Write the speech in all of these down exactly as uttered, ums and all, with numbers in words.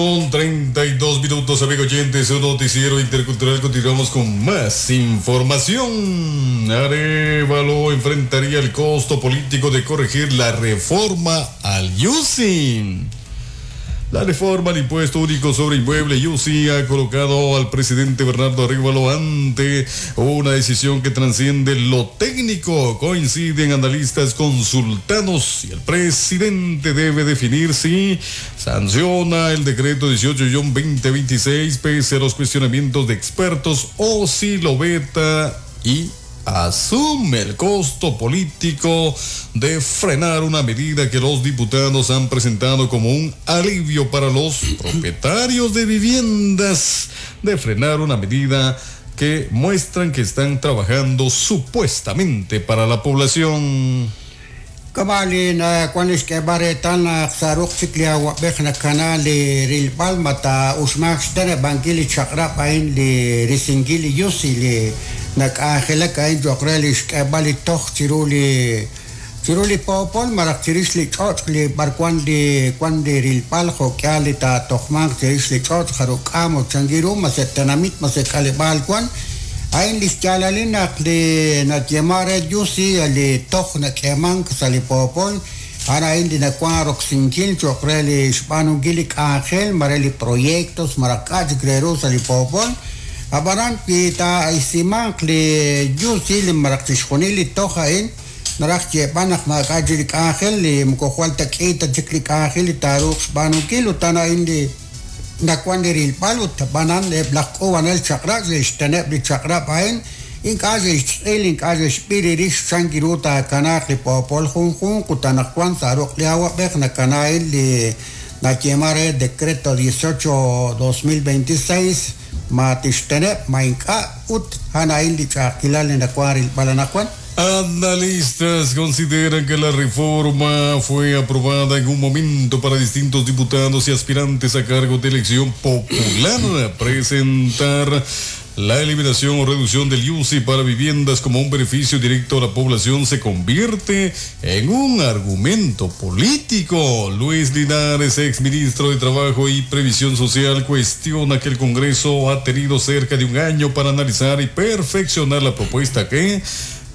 Con treinta y dos minutos, amigo oyentes, un noticiero intercultural. Continuamos con más información. Arévalo enfrentaría el costo político de corregir la reforma al I U C I. La reforma al impuesto único sobre inmueble I U C I ha colocado al presidente Bernardo Arévalo ante una decisión que trasciende lo técnico. Coinciden analistas consultados y el presidente debe definir si sanciona el decreto dieciocho guion veinte veintiséis pese a los cuestionamientos de expertos o si lo veta y asume el costo político de frenar una medida que los diputados han presentado como un alivio para los propietarios de viviendas, de frenar una medida que muestran que están trabajando supuestamente para la población. Kamali na kwanis ke baretan na saruk siklia wa bek na kanal li rilbal mata usmak stene bangili chakra pain li risingili yusi li nak-ajelak ain jokreli xk'eb'al li toj chiru li chiru li popol maraj chirix li ch'och' li b'arwan li wan li rilb'al jo'k'al li taatojmanq chirix li ch'och' jaruk'am o changiru ma se tenamit ma se k'aleb'al wan ain li xyaalalil naq li natyema re yusi li toj nak'emank sa' li popol ara ain li nakuan roksinkil cho'q re li xb'aanunkil li k'anjel mare li proyectos maraj k'a' chik re ru sa' li popol. Abanan pita isimanq li yusi li maraj chixjunil li toj a'in naraj xyeeb'al naq maak'a' chik li k'anjel li moko jwal ta k'i ta chik li k'anjel li taaruuq xb'aanunkil ut tan a'in li nakuan li rilb'al ut b'anan eb' laj k'uub'anel chaq'rab' xe'xteneb' li chaq'rab' a'in ink'a' xe'xtz'il ink'a' xe'xb'iri rix chan kiru taakanaaq li poopol junjunq ut anaqwan sa' ruq' li awab'ej nakana a'in li natyema re decreto dieciocho dos mil veintiséis ma tixteneb' ma ink'a' ut han a'in li ch'a'ajkilal li nakuan rilb'al anaqwan. Analistas consideran que la reforma fue aprobada en un momento para distintos diputados y aspirantes a cargo de elección popular presentar la eliminación o reducción del I U C I para viviendas como un beneficio directo a la población se convierte en un argumento político. Luis Linares, exministro de Trabajo y Previsión Social, cuestiona que el Congreso ha tenido cerca de un año para analizar y perfeccionar la propuesta que,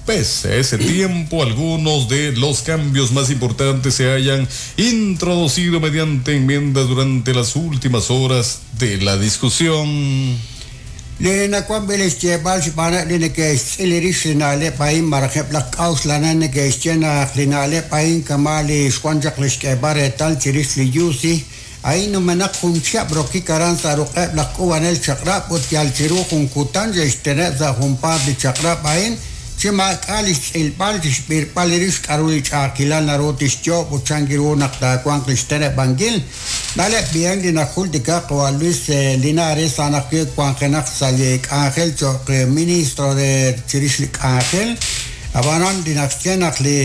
pese a ese tiempo, algunos de los cambios más importantes se hayan introducido mediante enmiendas durante las últimas horas de la discusión. Li nakuan bilis xyeeb'al xb'aan li neke'xtz'il rix li na'leb' a'in maraj eb' laj k'a'uxlanel neke'xye naq li na'leb' a'in kama' li xwan chaq li xk'eeb'al reetal chirix li I U C I a'in numenaq jun chihab' rokik aran sa' ruq'eb' laj k'uub'anel chaq'rab' ut yal chiru jun kutan xe'xteneb' sa' junpaat li chaq'rab' a'in chi maak'a' li xtz'ilb'al chi xb'irb'al li rix k'aru li ch'a'ajkilal naru tixyoob' ut chan kiru naq taawanq li xteneb'ankil. Na'leb' bien li najultikaq wa Luis Linares anaq wanjenaq sa' li k'anjel cho'q ministro de chirix li k'anjel ab'anan li naxye naq li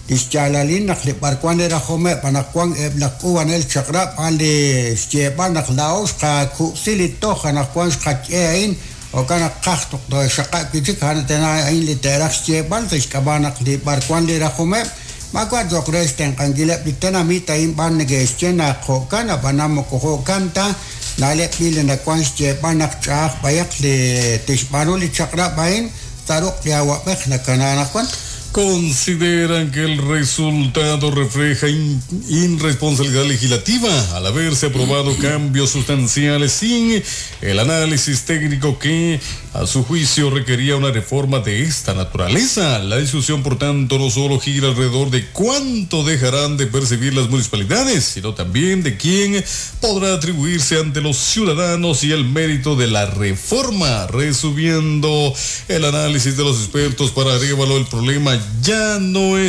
xyaalalil naq li b'arwan erajomeb' anaq wan eb' laj k'uub'anel chaq'rab' a'an li xyeeb'al naq laa'o xqakub'si li toj anaq wan xqak'e a'in okan qaj toq xaq'a' kichik han tena a'in li teeraj xyeeb'al sa' xk'ab'a' naq li b'arwan li rajomeb' maak'a' cho'q re xtenq'ankileb' li tenamit a'in b'an neke'xye naq jo'kan ab'anan moko jo'kan ta na'leb' b'i li nakuan xyeeb'al naq ch'a'aj b'ayaq li tixb'aanu li chaq'rab' a'in sa' ruq' li awab'ej nakana anaqwan. Consideran que el resultado refleja in-, irresponsabilidad legislativa al haberse aprobado cambios sustanciales sin el análisis técnico que, a su juicio, requería una reforma de esta naturaleza. La discusión, por tanto, no solo gira alrededor de cuánto dejarán de percibir las municipalidades, sino también de quién podrá atribuirse ante los ciudadanos y el mérito de la reforma. Resumiendo el análisis de los expertos, para Arévalo, el problema ya no es